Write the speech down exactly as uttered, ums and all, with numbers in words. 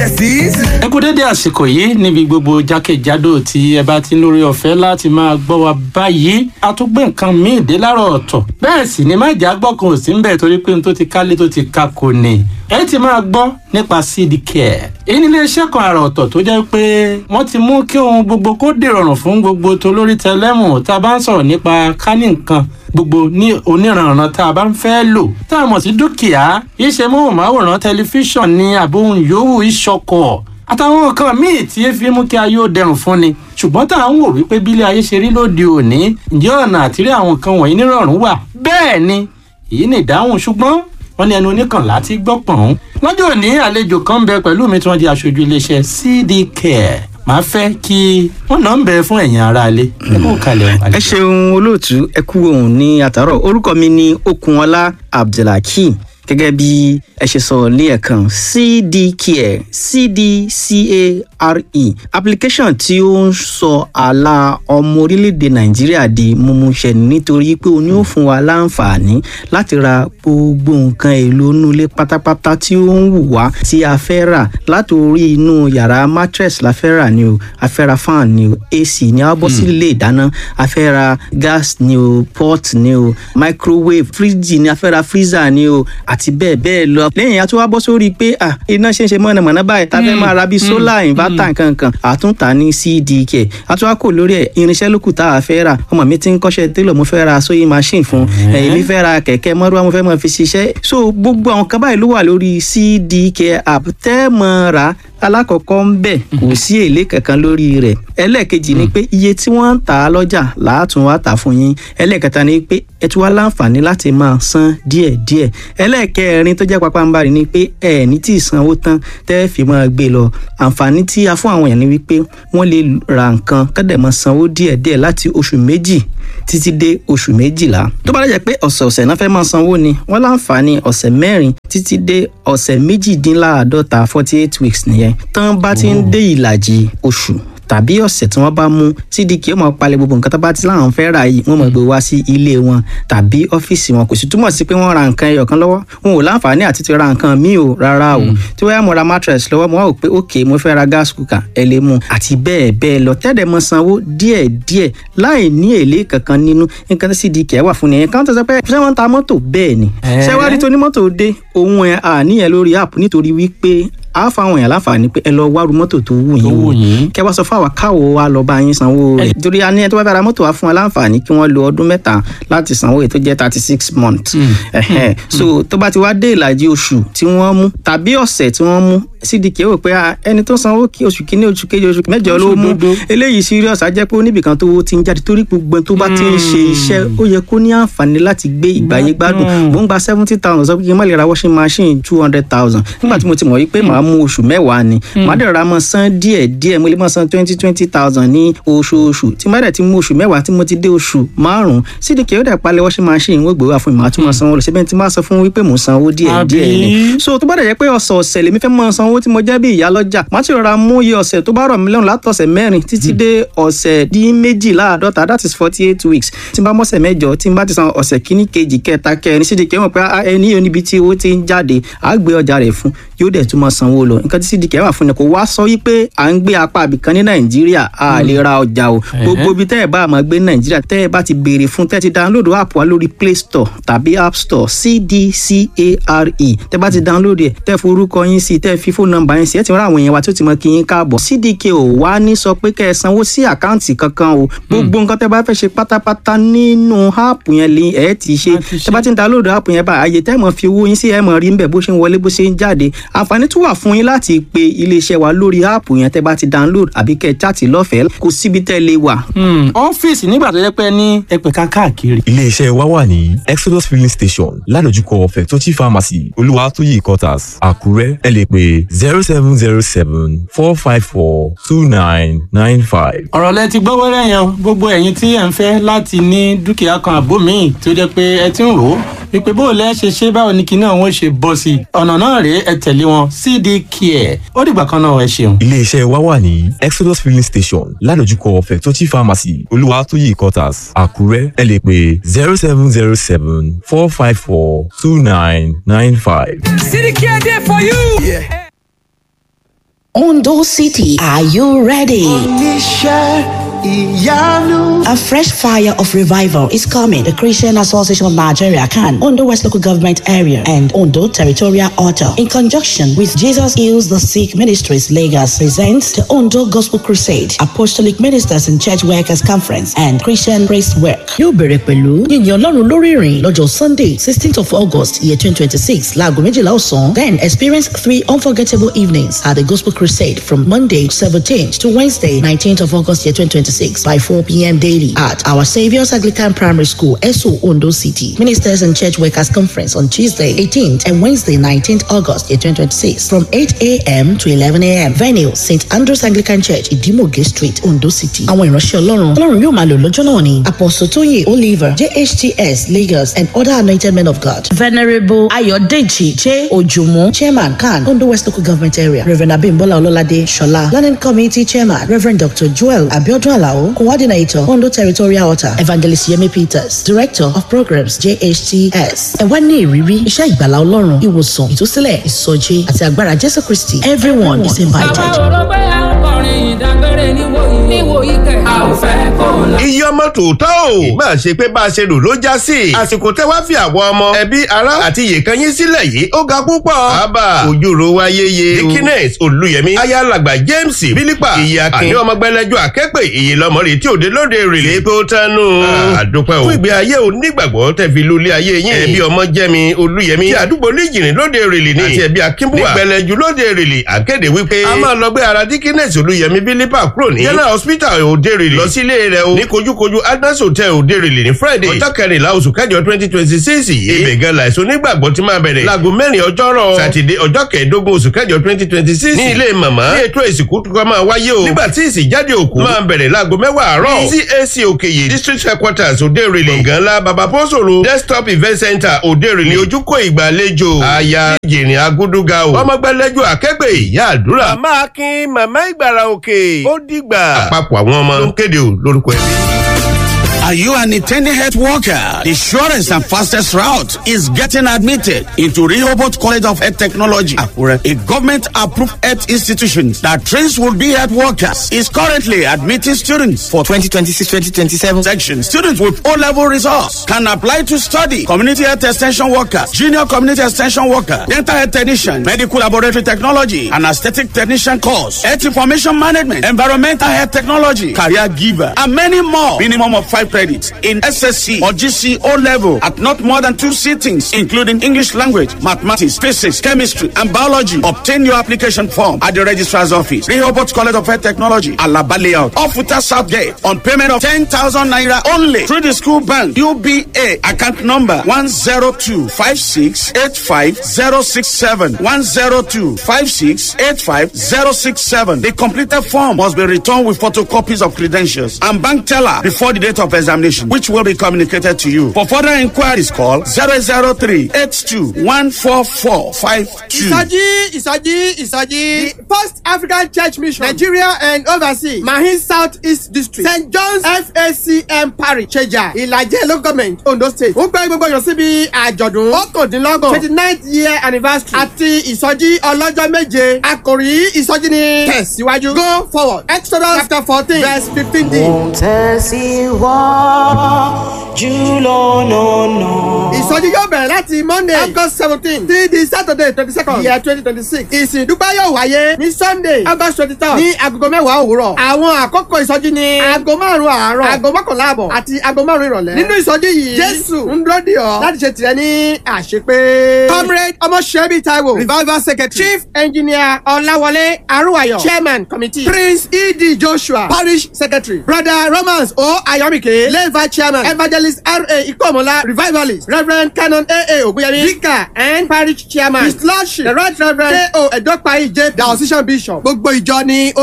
Besties. Ẹ kú dédé àsìkò yìí níbi gbogbo jákèjádò tí ẹ bá ti ń lórí ọ̀fẹ́ láti máa gbọ́ wa báyìí. A tún gbé nǹkan míì dé láàárọ̀ ọ̀tọ̀, bẹ́ẹ̀ sì ni má jà gbọ́ kan ò sí ń bẹ̀, torí pé n tó ti kálé tó ti ka kò ní. Ẹ ti máa gbọ́ nípa C D Care. Èyí ni iléeṣẹ́ kan àrà ọ̀tọ̀ tó jẹ́ pé wọ́n ti mú kí ohun gbogbo kó dìrọ̀rùn fún gbogbo tolórí tẹlẹ́mù. Tá a bá ń sọ̀rọ̀ nípa kání nǹkan gbogbo ní oníranran tá a bá ń fẹ́ lò tá a mọ̀ sí dúkìá, iṣẹ́ móhùnmáwòrán, tẹlifíṣàn ní àbóhùn yòówù, ìṣọkọ̀ àtàwọn nǹkan míì tí e fi mú kí ayé ó dẹrùn fún ni. Ṣùgbọ́n tá à ń wò wípé bílé ayé ṣe rí lóde òní, ǹjẹ́ ọ̀nà àtìrí àwọn nǹkan wọ̀nyí nírọ̀rùn wà? Bẹ́ẹ̀ ni, èyí ni ìdáhùn. Ṣùgbọ́n wọ́n ní ẹnu oníkànlá ti gbọ́ pọ̀n. Lọ́jọ́ òní, àlejò kan ń bẹ pẹ̀lú mi tí wọ́n di aṣojú iléeṣẹ́ C D Care. Màá fẹ́ kí wọ́n náà ń bẹ fún ẹ̀yin aráalé. Ẹ kú kalẹ̀. Ẹ ṣeun olóòtú, ẹ kú òun ní àtàrọ. Orúkọ mi ni Okunọlá Abdulhakeem. Gẹ́gẹ́ bí ẹ ṣe sọ ní ẹ̀kan, C D Care, C D C A R E, application tí ó ń sọ àlà ọmọ orílẹ̀-èdè Nàìjíríà di mímúṣẹ, nítorí pé ó ní ó fún wa láǹfààní láti ra gbogbo nǹkan èlò inú ilé pátápátá tí ó ń wù wá tí a fẹ́ rà. Látòrí inú yàrá, mattress la fẹ́ rà ni o, a fẹ́ ra fan ni o, A C ni, a bọ́ sí ilé ìdáná, a fẹ́ ra gas ni o, pot ni o, microwave, fridge ni, a fẹ́ ra freezer ni o, àti bẹ́ẹ̀ bẹ́ẹ̀ lọ. Lẹ́yìn, a tún wá bọ́ sórí pé iná ṣe ń ṣe mọ̀nàmọ́ná báyìí, tá a fẹ́ máa ra bíi solar inverter nkankan, àtúntà ní C D K. A tún wá kò lórí ẹ̀, irinṣẹ́ lókù tá a fẹ́ rà. Ọmọ mi ti ń kọ́ṣẹ́ télọ̀, mo fẹ́ ra sewing machine fún èmi, fẹ́ ra kẹ̀kẹ́ mọ́rúwá, mo fẹ́ máa fi ṣiṣẹ́. So gbogbo àwọn kan báyìí ló wà lórí C D K app tẹ́ mọ́ ra. Alákọ̀ọ́kọ́ ń bẹ̀, kò sí èlé kankan lórí rẹ̀. Ẹlẹ́ẹ̀kejì ni pé iye tí wọ́n ń tà á lọ́jà làátún wá tà fún yín. Ẹlẹ́ẹ̀kẹta ni pé ẹ tún wá láǹfààní láti máa san díẹ̀díẹ̀. Ẹlẹ́ẹ̀kẹrin tó jẹ́ pàpàǹbarì ni pé ẹ ní tí ì sanwó tán tẹ́ fi máa gbé lọ. Àǹfààní tí a fún àwọn èèyàn ni wípé wọ́n lè ra nǹkan kọ́dẹ̀ máa sanwó díẹ̀díẹ̀ láti oṣù méjì títí dé oṣù méjìlá. Tó bá dẹ̀ jẹ́ pé ọ̀sẹ̀ọ̀sẹ̀ náà fẹ́ máa sanwó ni, wọ́n láǹfààní ọ̀sẹ̀ mẹ́rin títí dé ọ̀sẹ̀ méjìdínláàádọ́ta, forty eight weeks nìyẹn. Tán bá ti ń dé ìlàjì oṣù tàbí ọ̀sẹ̀ tí wọ́n bá mú, C D K ó máa palẹ̀ gbogbo nǹkan tó bá ti láwọn fẹ́ rà yìí, wọ́n máa gbé wá sí ilé wọn tàbí ọ́fíìsì wọn. Kò sì túmọ̀ sí pé wọ́n ra nǹkan ẹyọ kan lọ́wọ́, wọn ò láǹfààní àti ti ra nǹkan míì o, rárá o. Tí wọ́n yá mo ra mattress lọ́wọ́, mo wá wò pé ok, mo fẹ́ ra gas cooker, ẹ lè mú, àti bẹ́ẹ̀ bẹ́ẹ̀ lọ, tẹ́lẹ̀ mọ sanwó díẹ̀ díẹ̀ láì ní èlé kankan nínú. Nǹkan tí C D K wà fún nìyẹn. Kan tó sọ pé ṣé wọ́n ń ta mọ́tò? Bẹ́ẹ̀ ni. Ṣé wàá rí tonímọ́tò dé òun ẹ̀ àníyàn lórí app, nítorí wípé a fa àwọn èèyàn láǹfààní pé ẹ lọ wárú mọ́tò tó wù yín wò, kẹ wá sọ fún àwa káwo wa lọ bá yín sanwó rẹ̀, torí a ní ẹni tó bá fẹ́ ra mọ́tò wa fún wa láǹfààní kí wọ́n lo ọdún mẹ́ta láti sanwó èyí tó jẹ́ thirty six months. So tó bá ti wá dé ìlàjì oṣù tí wọ́n mú tàbí ọ̀sẹ̀ tí wọ́n mú, C D K rò pé ẹni tó sanwó kí oṣù kínní, oṣù kejì, oṣù mẹ́jọ ló mú, eléyìí serious, á jẹ́ pé oníbìkan tó ti ń jáde, torí gbogbo tó bá ti ń ṣe iṣẹ́, ó yẹ kó ní àǹfààní láti gbé ìgbáyé gbádùn. Mò ń gba seventy thousand, sọ pé kí n má lè ra washing machine two hundred thousand? Nígbà tí mo ti mọ̀ wípé màá mú oṣù mẹ́wàá ni, màá dẹ̀ ra mọ́ san díẹ̀ díẹ̀, mo lè máa san twenty twenty thousand ní oṣooṣù. Tí má dẹ̀ ti mú oṣù mẹ́wàá, tí mo ti dé oṣù márùn-ún, C D K ó dẹ̀ palẹ̀ washing machine, wọ́n gbé wá fún mi, màá tún máa sanwó lọ síbẹ̀. Tí máa sọ fún wípé mò ń sanwó díẹ̀ díẹ̀ ni. So tó bá dẹ̀ jẹ́ pé ọ̀sọ̀ọ̀sẹ̀ lèmi fẹ́ máa sanwó tí mo jẹ́ bí ìyá lọ́jà, màá ti rọra mú iye ọ̀sẹ̀ tó bá rọ̀ mí lọ́rùn látọ̀sẹ̀ mẹ́rin títí dé ọ̀sẹ̀ dín méjìláàdọ́ta, that is forty eight weeks. Tí n bá mọ̀sẹ̀ mẹ́jọ, tí n bá ti san ọ̀sẹ̀ kíní, kejì, kẹta, kẹrin, C D K mọ̀ pé ẹni yóò níbi tí owó ti ń jáde, àá gbé ọjà rẹ̀ fún, yóò dẹ̀ tún máa sanwó lọ. Nǹkan tí C D K wà fún ni kò wá sọ wípé à ń gbé apá àbìkan ní Nàìjíríà a lè ra ọjà o. Gbogbo ibi tẹ́ ẹ bá máa gbé ní Nàìjíríà, tẹ́ ẹ bá ti béèrè fún, tẹ́ ẹ ti download app wa lórí Play Store tàbí App Store, C D C A R E, tẹ́ bá ti download ẹ̀, tẹ́ forúkọ yín sí, tẹ́ fi fóònù nọ́mbà yín sí, ẹ ti rán àwọn èèyàn wa tí ó ti mọ kí yín káàbọ̀. C D K ò wá ní sọ pé kẹ́ ẹ sanwó sí àkáǹtì kankan o. Gbogbo nǹkan tẹ́ bá fẹ́ ṣe pátápátá nínú app yẹn lè ẹ ti ṣe. Tẹ́ bá ti ń download app yẹn bá, àyè tẹ́ mọ̀ fi owó yín sí, ẹ mọ̀ rí ń bẹ̀ bó ṣe ń wọlé, bó ṣe ń jáde. Àǹfààní tún wà fún yín láti pe iléeṣẹ́ wa lórí app yẹn tẹ́ bá ti download, àbí kẹ́ ẹ chat lọ́fẹ̀ẹ́. Kò síbi tẹ́ lè wà. Ọ́fíìsì nígbà tó jẹ́ pé ní ẹ̀pẹ̀ka káàkiri. Iléeṣẹ́ wa wà ní Exodus Filling Station, ládojúkọ Fẹ̀tọ́chì Pharmacy, Olúwatóyè Quarters, Àkúrẹ́. Ẹ lè pè zero seven zero seven four five four two nine nine five. Ọ̀rọ̀ lẹ ti gbọ́ wẹ́rẹ́ yẹn. Gbogbo ẹ̀yin tí ẹ̀ ń fẹ́ láti ní dúkìá kan àbó míì tó jẹ́ pé ẹ ti ń rò ó wípé bó o lẹ́ ṣe ṣe, báwo ni kinní ọ̀hún ṣe bọ́ sí i, ọ̀nà náà rèé, ẹ tẹ̀lé wọn, C D Care. Ó dìgbà kan náà, ẹ ṣeun. Iléeṣẹ́ wa wà ní Exodus Filling Station, ládojúkọ Fẹ̀tọ́chì Pharmacy, Olúwatóyè Quarters, Àkúrẹ́. Ẹ lè pè zero seven zero seven four five four two nine nine five. C D Care there for you. Yeah. Ondo City, are you ready? Oníṣẹ́ ìyanu. A fresh fire of revival is coming. The Christian Association of Nigeria, C A N, Ondo West Local Government Area, and Ondo Territorial Altar, in conjunction with Jesus Heals the Sick Ministries Lagos, presents the Ondo Gospel Crusade, Apostolic Ministers and Church Workers Conference, and Christian Praise Work. Yóò bẹ̀rẹ̀ pẹ̀lú yíyan Ọlọ́run lórí ìrìn lọ́jọ́ Sunday, sixteenth of August, year twenty twenty six, láago méjìlá ọ̀sán. Then experience three unforgettable evenings at the Gospel Crusade from Monday seventeenth to Wednesday nineteenth of August, year twenty twenty six by four p m daily at Our Saviour's Anglican Primary School, Esso, Ondo City. Ministers and Church Workers Conference on Tuesday eighteenth and Wednesday nineteenth August, year twenty twenty-six from eight a m to eleven a m. Venue, Saint Andrew's Anglican Church, Idimoge Street, Ondo City. Àwọn ìránṣẹ́ Ọlọ́run Ọlọ́run yóò máa lò lọ́jọ́ náà ni Apostle Tóyè Oliver, J H T S Lagos, and other anointed men of God. Venerable Ayodeji J. Ojumu, Chairman, C A N, Ondo West Local Government Area. Reverend Abimbola Ololade Shola, Learning Committee Chairman. Reverend Doctor Joel Abiodun Alao, Coordinator, Ondo Territorial Altar. Evangelist Yemi Peters, Director of Programs, J H T S. Ẹ wá ní ìrírí iṣẹ́ ìgbàlá Ọlọ́run, ìwòsàn, ìtúsílẹ̀, ìsọjí àti agbára Jésù Kristi. Everyone is invited. Bàbá rò pé à ń kọrin ìdágbére níwòyí níwòyí kẹ̀. A ò fẹ́ kó lọ. Iye ọmọ tòótọ́ o máa ṣe pé bá a ṣe rò ló já sí. Àsìkò tẹ́ wá fi àwọn ọmọ, ẹbí, ará àti ìyèkan yín sílẹ̀ yìí, ó ga púpọ̀. Àbá ojúro wa yéye. Dikines Olùyẹmí, ayálàgbà James Bílípà, ìyá Akin ní ọmọ gbẹlẹjọ akẹ́pẹ́ ìyè lọmọ rè tí òde lóde rèlé pé ó tánú. Àdúpẹ́ o fún ìgbé ayé onígbàgbọ́ tẹ́ fi lulẹ̀ ayé yín. Ẹbí ọmọ jẹ́mi Olùyẹmí tí àdúgbò níjìnrín lóde rèlé ní àti ẹbí Akínbúwà nígbẹlẹjú lóde rèlé àkéde wípé a máa lọ gbé ara Dikines Olùyẹmí Bílípà kúrò ní General Hospital òde rèlé lọ sí ilé rẹ̀ o ní kojúkojú Agnes Hotel òde rèlé ní Friday, ọjọ́ kẹrìnlá oṣù kẹjọ twenty twenty six yìí. Ibẹ̀ gan làìsàn onígbàgbọ́ ti máa bẹ̀rẹ̀ láago mẹ́rin ọjọ́rọ̀ Sátidé, ọjọ́ kẹẹ̀ẹ́dógún oṣù kẹjọ twenty twenty six ní ilé màmá ní ètò ìsìnkú tó máa wáyé o, nígbà tí ìsìnjáde òkú máa bẹ̀rẹ̀ láago mẹ́wàá àárọ̀ ní C A C Òkèyè District Headquarters òde rèlé, gbọ̀ngàn ńlá Baba Pọ́sòro Desktop Event Center òde rèlé ní ojúkò ìgbàlejò. Aya jìnrìn agúdúgà o, ọmọgbẹ́lẹ́jọ akẹ́gbẹ́ ìyá àdúrà, Màmá Akin, Màmá Ìgbàrà Òkè, ó dìgbà. Àpapọ̀ àwọn ọmọ ló ń kéde o lórúkọ ẹbí. Are you an intending health worker? The surest and fastest route is getting admitted into Rehoboth College of Health Technology, Akure, a government-approved health institution that trains would-be health workers, is currently admitting students for twenty twenty-six twenty twenty-seven section. Students with O-level results can apply to study community health extension workers, junior community extension worker, dental health technician, medical laboratory technology, and aesthetic technician course, health information management, environmental health technology, career giver, and many more. Minimum of five credits in S S C or G C O level at not more than two sittings, including English language, mathematics, physics, chemistry, and biology. Obtain your application form at the registrar's office, Rehoboth College of Health Technology, Alaba Layout, Ofuta South Gate, on payment of ten thousand naira only through the school bank, U B A, account number one zero two five six eight five zero six seven, one zero two five six eight five zero six seven. The completed form must be returned with photocopies of credentials and bank teller before the date of examination, which will be communicated to you. For further inquiries, call zero zero three eight two one four four five two. Ìsọjí, ìsọjí, ìsọjí. The First African Church Mission, Nigeria and overseas, Mahin South East District, Saint John's F A C M Parish, Cheja, Ìlàjẹ Local Government, Ondo State. Ó gbé gbogbo èèyàn síbi àjọ̀dún ọ̀kàndínlọ́gbọ̀n, twenty ninth year anniversary, àti ìsọjí ọlọ́jọ́ méje. Àkòrí ìsọjí ni tẹ̀síwájú. Go forward. Exodus chapter fourteen verse fifteen d. Mo ń tẹ̀síwájú lọ́nà náà. Ìsọjí yóò bẹ̀rẹ̀ láti Monday, August seventeen sí di Saturday twenty second year twenty twenty six. Ìsìn ìdúpẹ́ yóò wáyé ní Sunday, August twenty third ní agogo mẹ́wàá òwúrọ̀. Àwọn àkókò ìsọjí ní aago márùn-ún àárọ̀, aago mọ́kànlá àbọ̀ àti aago márùn-ún ìrọ̀lẹ́. Nínú ìsọjí yìí, Jésù ń dúró dè ọ́ láti ṣe tìrẹ ní àṣepé. Comrade Ọmọṣẹ́bí Taiwo, Revival Secretary, Chief Engineer Ọláwọlé Arúwayọ̀, Chairman Committee, Prince E D. Joshua, Parish Secretary, Brother Romans O. Ayọ̀míkè, Lay Chairman, Evangelist R A. Ikomola, Revivalist, Reverend Canon A A. Ogunyemi, Vicar and Parish Chairman, His Lordship, the Right Reverend K O. Edopayi J P, Diocesan Bishop. Gbogbo ìjọ ni